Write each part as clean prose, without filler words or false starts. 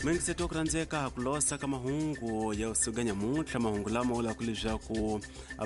Muyingiseti wa ku rhandzeka ku losa ka mahungu ya usiku nyamuntlha, mahungu lama vulaka leswaku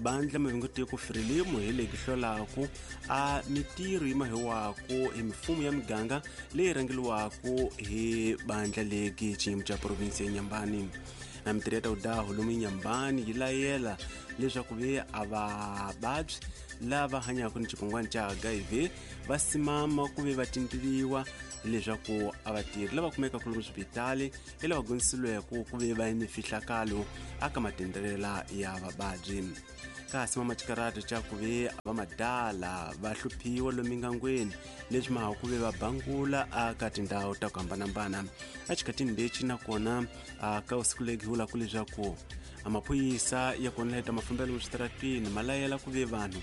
bandla mavingotiko Frelimo hi leyi hlolaku a mitirho yi mahiwaku hi mifumo ya miganga leyi rhangeliwaku hi bandla legi xiyimo xa provinsi ya Nyambani. Na mitirho ya tawudaho lomu Nyambani yi layela leswaku ve a vavabyi lava hanyaka ni xitsongwana xa HIV va simama ku ve va tindiliwa leswaku a vatirhi lava kumekaka lomu swibitali hi lava gondzisiweke ku ve va ni fihlakalo aka matendrelela ya vavabyi. Kasi mamaxikarati xa ku ve va madala va hluphiwa lomu mingangweni leswi maha ku ve va bangula aka tindhawu ta ku hambanahambana. Exikhatini lexi nakona ka usiku legi vulaka leswaku maphorisa ya kona leta mafambelo eswitarateni ma layela ku ve vanhu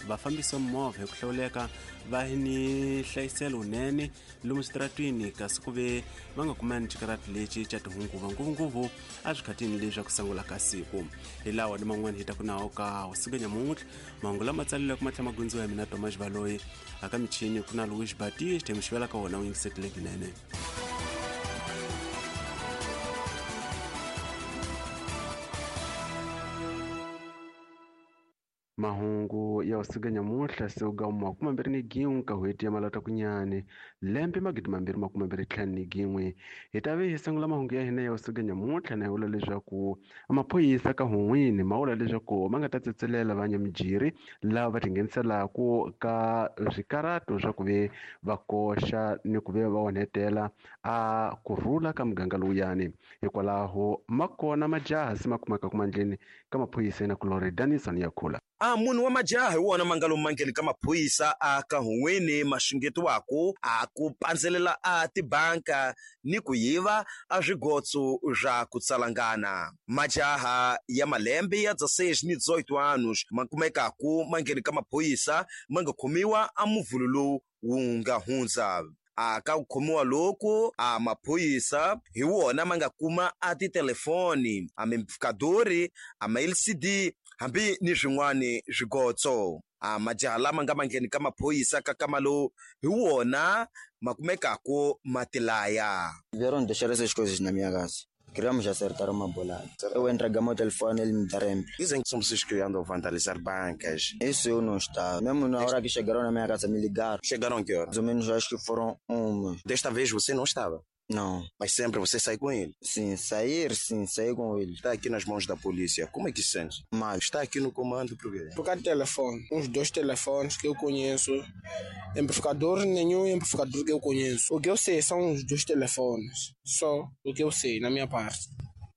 va fambisa movha hi ku hlawuleka va ni hlayiselo wunene lomu switaratwini, kasi ku ve va nga kumani xikarati lexi xa tihunguva ngopfungopfu eswikhatini leswi ku sungula ka siku. Hi lawa ni man'wana hi ta ku nawo ka usiku nyamuntlha, mahungu lama tsaleleke ma tlhela ma gundziwa hi mina Thomas Baloyi, aka michini ku na Louis Batiste, mixivela ka wona u yingisetile kunene. Mahungu ya usiku nyamuntlha siku ga 21 ka n'hweti ya Malatakunyane lembe 2021. Hi ta ve hi sungula mahungu ya hina ya usiku nyamuntlha na hi vula leswaku maphorisa ka Hun'wini ma vula leswaku ma nga ta tsetselela vanyamijiri lava va tingheniselaka ka swikarato swa ku ve va koxa ni ku ve va onhetela a kurhula ka muganga lowuyani. Hikwalaho ma kona majaha se ma kumeka kumandleni ka maphorisa na kulori Danison ya khula. A munhu wa majaha hi wona ma nga lomu mangheni ka maphorisa a ka Hun'wini ma xungetiwaku a ku pandzelela a tibanka ni ku yiva a swigotso swa ku tsalangana. Majaha ya malembe ya 16 ni 18 anos ma kumekaku mangheni ka maphorisa ma nga khomiwa a muvhulu lowu wu nga hundza. A ka ku khomiwa loku a maphorisa hi wona ma nga kuma a titelefoni, a mimpfukadori, a ma LCD hambi ni swin'wani swigotso. A majaha lama nga mangheni ka maphorisa ka kama lowu hi wona ma kumekaku ma tilaya. Vieram deixar essas coisas na minha casa. Queríamos acertar uma bolada. Eu entreguei meu telefone, ele me deram. Dizem que são pessoas que andam a vandalizar bancas. Isso eu não estava. Mesmo na hora que chegaram na minha casa, me ligaram. Chegaram que hora? Mais ou menos acho que foram uma. Desta vez você não estava? Não. Mas sempre você sai com ele? Sim, sair, sim, saí com ele. Está aqui nas mãos da polícia. Como é que se sente? Mal. Está aqui no comando por quê? Por causa de telefone. Uns 2 telefones que eu conheço. Amplificador, nenhum amplificador que eu conheço. O que eu sei são os 2 telefones. Só o que eu sei, na minha parte.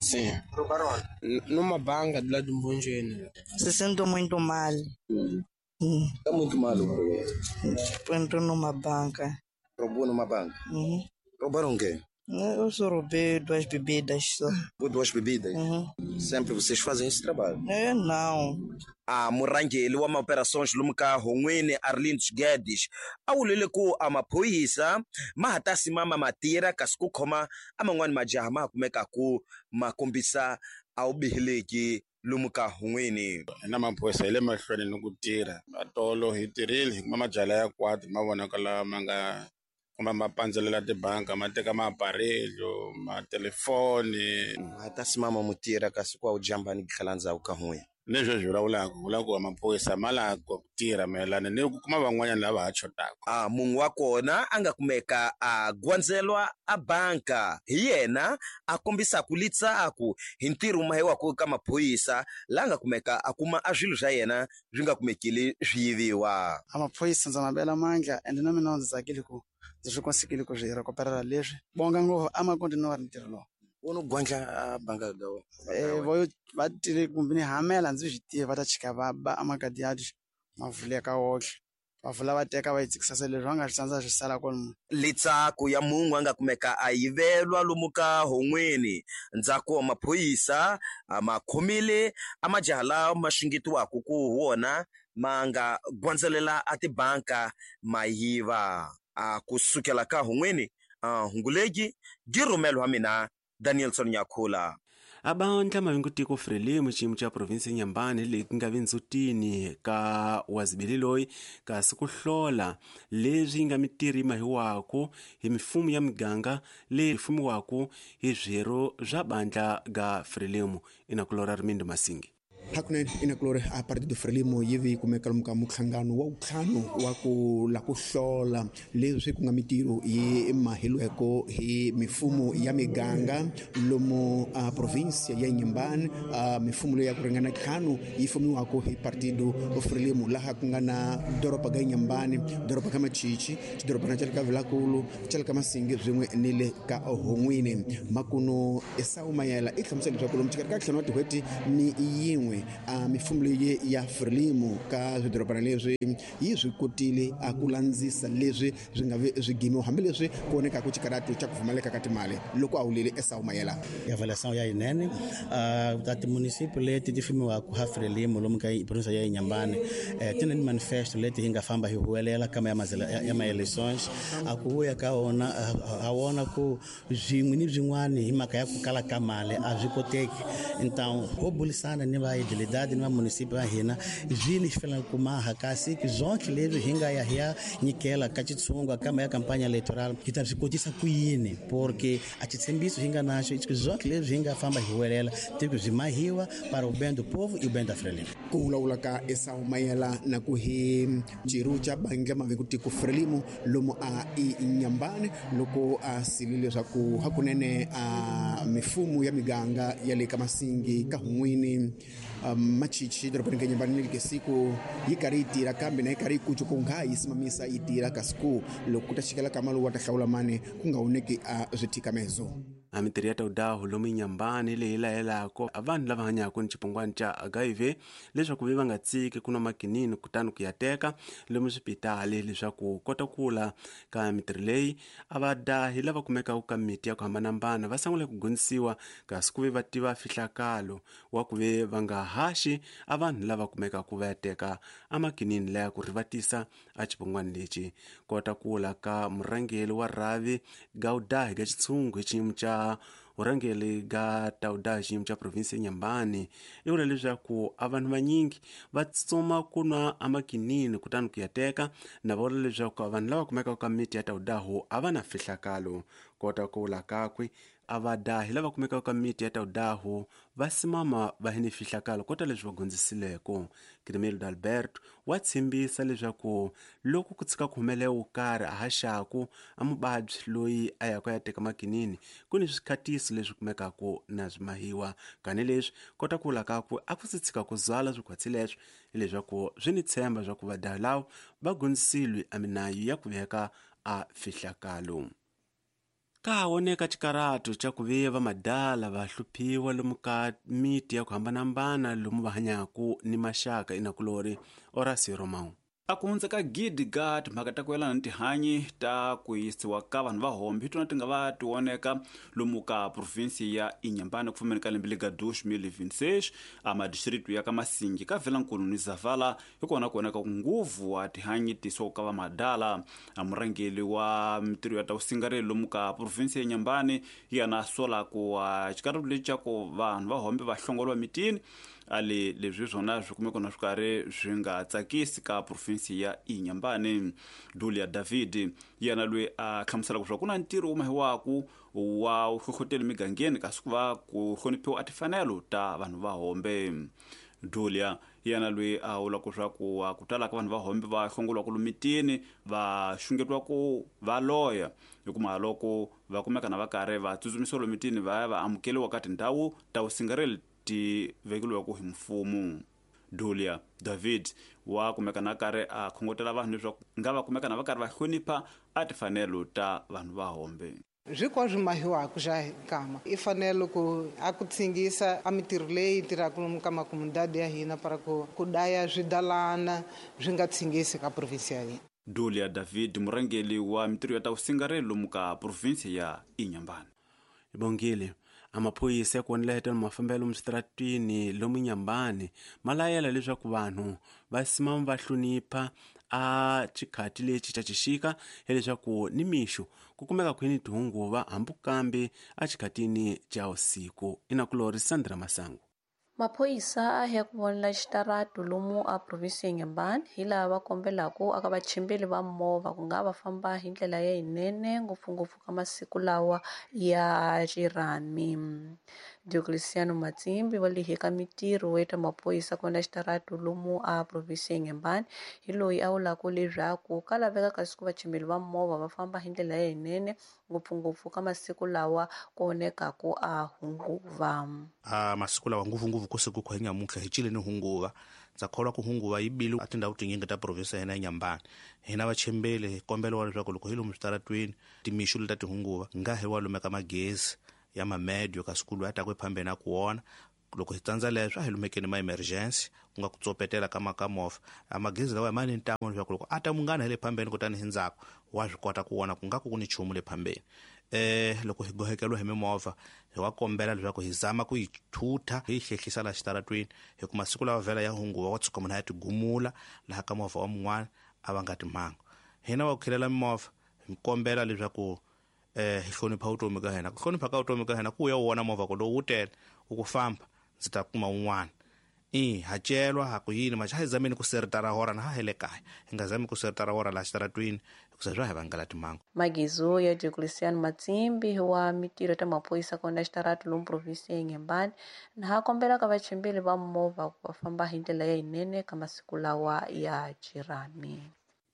Sim. Roubaram? Numa banca de lá de Mbonjeni. Se sinto muito mal. Está muito mal o quê? Entrou numa banca. Roubou numa banca? Uhum. Roubaram o quê? Eu só roubei 2 bebidas só. Roubou 2 bebidas? Uhum. Sempre vocês fazem esse trabalho? Eu não. A murhangeri wa maoperações lomu ka Hun'wini Arlindo Guedes a vulile ku a maphorisa ma ha ta simama ma tirha kasi ku khoma a man'wani majaha ma ha kumekaku ma kombisa a wu bihileki lomu ka Hun'wini. Hina maphorisa hi le mahlweni ni ku tirha. Matolo hi tirhile hi kuma majaha ya kwati ma vonaka lawa ma nga kumbe ma pandzelela tibanka ma teka maaparelho matelefoni. Ma ta simama mu tirha kasi ku a wu jamba ni tlhela ndzhaku ka Hun'wini. Leswi swi vulavulaka vula ku maphorisa ma lava ku tirha mayelana ni ku kuma van'wanyana lava ha xotaka. A munhu wa kona a nga kumeka a gwandzelwa a banka hi yena a kombisaka litsaku hi ntirho mahiwaka ka maphorisa la nga kumeka a kuma a swilo swa yena swi nga kumekile swi yiviwa. A maphorisa ndza ma bela mandla ende na mina ndzi tsakile ku ndzi swi konsekile ku swi recuperela leswi bonga ngopfu a ma continue ntirho lowu. U no gwandla a banka ga wena? Vo va tile kumbe ni hamela ndzi swi tiva va ta chika va ba amakadi ma vuleka woxe. Va vula va teka va yi tsikisa leswi va nga swi tsandza swi sala kwalomu. Litsaku ya munhu a nga kumeka a yivelwa lomu ka Hun'wini. Ndzhaku wa maphorisa a ma khomile a majaha lawa ma xungetiwaka ku wona ma nga gwandzelela a tibanka ma yiva. A kusukela ka Hun'wini, a Hungulegi, gi rhumelo wa mina Danielson Nyakhula. Abandla mavingutiko Frelimo xiyimo xa provinsi ya Inhambane leyi ku nga vindzutini ka wazibili loyi kasi ku hlola leswi nga mitirho yi mahiwaku hi mifumo ya miganga leyi fumiwaku hi swirho swa bandla ga Frelimo. Inakulora Rimindo Masingi. Hakunene inakulori a Partido Frelimo yi vi kumeka lomu ka muhlangano wa ntlhanu wa ku la ku hlola leswi ku nga mitirho yi mahilweko hi mifumo ya miganga lomu a provinsia ya Inhambane, a mifumo leyi ya ku ringana ntlhanu yi fumiwaka hi Partido Frelimo, laha ku nga na doroba ga Inhambane, doroba ka Machichi, xidorobana xa le ka Vilankulu, xa le ka Masingi swin'we ni le ka Hon'wini. Makuno Esau Mayela i hlamusela leswaku lomu xikarhi ka ntlhanu wa tin'hweti ni yin'we a mifumo leyi ya Frelimo ka swidorobana leswi yi swi kotile a ku landzisa leswi swi nga vi swi gimiwa hambileswi ku vonekaka xikaratu xa ku pfumaleka ka timali loko a wulile Esau Mayela. Avaliação ya yinene ta timunicipio leti ti fumiwaka ha Frelimo lomu ka provinsia ya Inhambane ti na manifesto leti hi nga famba hi huwelela kama ya ma-elections a ku vuya ka wona ha wona ku swin'we ni swin'wana hi mhaka ya ku kala ka mali a swi koteki. Então ho bulisana ni va idilidade ni va municipio va hina zvini xi faneleke ku maha kasi zonke leswi hi nga ya hi ya nyikela ka xitshungu kama ya campagne electoral hi ta swi kotisa ku yini, porque a xitshembiso hi nga naxo i zonke leswi hi nga famba hi huwelela tiko byi mahiwa para o bem do povo e o bem da Frelimo. Ku vulavula ka Esau Mayela na ku hi xiru xa bandla mavekutiko Frelimo lomu a Inhambane loko a sili leswaku hakunene a mifumo ya miganga ya le ka Masingi ka Hon'wini, Machichi dorobeni ka Inhambane ni le siku yi karhi yi tirha kambe na yi karhi yi kuca ku nga yi simamisa yi tirha kasi ku loko ku ta xikela ka mali wa ta hlawula mani ku nga voneki a swithikamezo. A mitirho ya tawudahu lomu Inhambane leyi layelako a vanhu lava hanyaka ni xipungwana xa HIV leswaku ve va nga tsiki ku nwa makinini kutani ku ya teka lomu swipitali leswaku kota kula ka mitirho leyi a va dahi lava kumekaka ka miti ya ku hambanahambana va sungula ku gondzisiwa kasi ku ve va tiva fihlakalo wa ku ve va nga haxi a vanhu lava kumekaka va ya teka amakinini laya ku rivatisa a xipungwana lexi. Kota kula ka murhangeri wa rhavi gaudahi ga xitshungu hi xiyimo xa vurhangeri ga tawuda xiyimo xa provinsi ya Inhambane i vula leswaku a vanhu vanyingi va tsutsuma ku nwa amakinini kutani ku ya teka na va vula leswaku vanhu lava kumekaka ka miti ya tawudahu a va na fihlakalo. Kota ku vula kakwe a va dahi lava kumekaka ka miti ya tawudahu va simama va hi ni fihlakalo kota leswi va gondzisileko. Crimelo D'Alberto wa tshembisa leswaku loko ku tshika ku humelela wo karhi a haxaku a muvabyi loyi a yaka ya teka makinini ku ni swikhatiso leswi kumekaka na swimahiwa kani leswi kota ku vula kakwe a ku si tshika ku zwala swikhwatsi leswi hileswaku swi ni tshemba swa ku vadahi lava va gondzisilwe a minayo ya ku veka a fihlakalo. Ka voneka xikaratu xa ku ve va madala va hluphiwa lomu ka miti ya ku hambanahambana lomu va hanyaka ni maxaka inakulori Horacio Romão. A ku hundza ka gidi ga timhaka ta ku yelana ni tihanyi ta ku yisiwa ka vanhu va hombe hi tona ti nga va ti voneka lomu ka provinsi ya Inhambane ku fambeni ka lembe lega 2026 a madistritu ya ka Masingi ka Vilankulu ni Zavala hi kona ku voneka nguvu wa tihanyi tisiwa ka va madala. A murhangeri wa mitirho ya ta vusingareli lomu ka provinsi ya Inhambane yena sola ku xikaratu lexi xa ku vanhu va hombe va hlongoliwa mitini ale leswi swona swi kumeka na swi karhi swi nga tsakisi ka provinsi ya Inhambane. Dulia David yena loyi a hlamuselaka leswaku ku na ntirho wu mahiwaku wa hlohloteli migangeni kasi ku va ku hloniphiwa a timfanelo ta vanhu va hombe. Dulia yena loyi a vulaka leswaku ku tala ka vanhu va hombe va hlongoliwaka lomitini va xungetiwa ku va loya hikuva loko va kumeka na va karhi va tsutsumisiwa lomitini va ya va amukeriwa ka tindhawu ta vusingareli ti vekeliwaka hi mfumo. Dulia David wa kumeka na karhi a khongotela vanhu leswaku nga va kumeka na va karhi va hlonipha a timfanelo ta vanhu va hombe. Hinkwaswo mahiwaka xa kama i fanele ku a ku tsingisa a mitirho leyi tirhaka lomu ka makomundadi ya hina para ku daya swidalana swi nga tsingisi ka provinsi ya hina. Dulia David murhangeri wa mitirho ya ta vusingareli lomu ka provinsi ya Inhambane. Bongile amaphoyisa ya ku vonela mafambelo misitratwini lomu Inhambane ma layela leswaku vanhu va simama va hlonipha A xikhati lexi xa xixika hileswaku ni mixo ku kumeka khwini tihunguva hambi kambe a xikhatini xa usiku. Inakulori Sandra Masangu. Maphorisa a ya ku vonela xitaratu lomu a provinsi ya Inhambane hi laha va kombelaka aka vachimbeli va movha ku nga va famba hi ndlela ya yinene ngopfungopfu ka masiku lawa ya xirhami. Diocleciano Matsimbi wa le ka mitirho ya ta maphorisa ku vona xitaratu lomu a provinsi ya Inhambane hi loyi a vulaka leswaku ka laveka kasi ku vachimbeli va movha va famba hi ndlela ya yinene ngopfungopfu ka masiku lawa ku onekaku a hunguva. A masiku lawa ngopfungopfu ku siku ku nyamuntlha hi cile ni hunguva. Ndza kholwa ku hunguva yi bile a tindhawu tinyingi ta provinsi ya hina ya Inhambane. Hina vachimbeli hi kombela leswaku loko hi lomu switaratweni timixo leta tihunguva nga hi wa lumeka magezi ya mamedio kasi ku loyi a taku ephambeni a ku wona. Loko hi tsandza leswo a hi lumekeni ma emergency ku nga ku tsopetela ka makamovha. A magezi lawa ma ni ntamu leswaku loko a ta munghana hi le phambeni kutani hi ndzhaku wa swi kota ku vona ku nga ku ku ni nchumu le phambeni. Loko hi gohekeliwa hi mimovha hi wa kombela leswaku hi zama ku yi thutha hi yi hlehlisa laha xitaratweni hi ku masiku lawa vhela ya hunguva wa tshuka munhu a ya tigumula laha ka movha wa mun'wana a va nga timhangu. Hina wa ku khilela mimovha hi kombela leswaku hi hlonipha vutomi ka hina. Ku hlonipha ka vutomi ka hina ku ya u vona movha ku lowu wu tele u ku famba ndzi ta kuma wun'wana. Ha celwa ha ku yini maxa hi zameni ku seritara hora na ha hi le kaya hi nga zami ku seritara hora laha xitaratwini hikusa swa hi vangela timhangu. Magizo ya Diocleciano Matsimbi wa mitirho ta maphorisa ku vona xitaratu lomu provinsi ya Inhambane na ha kombela ka vachimbeli va movha ku va famba hi ndlela ya yinene ka masiku lawa ya xirhami.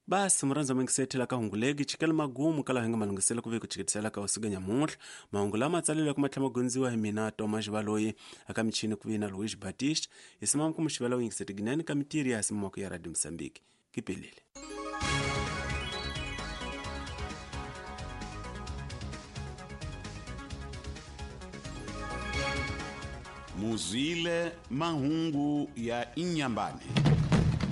Basi murhandza mingisethela ka hunguleki chikela magumu kala hinga malungisela ku ve ku chikitisela ka usiku nyamuntlha. Mahungu lama tsalelwa ku matlhama gondziwa hi mina Thomas Baloyi aka michini ku vina Luis Batista hi simama ku muxivela u yingisete ginene ka mitiri ya simama ya Radio Mozambique. Kipelele. Muzwile mahungu ya Inhambane.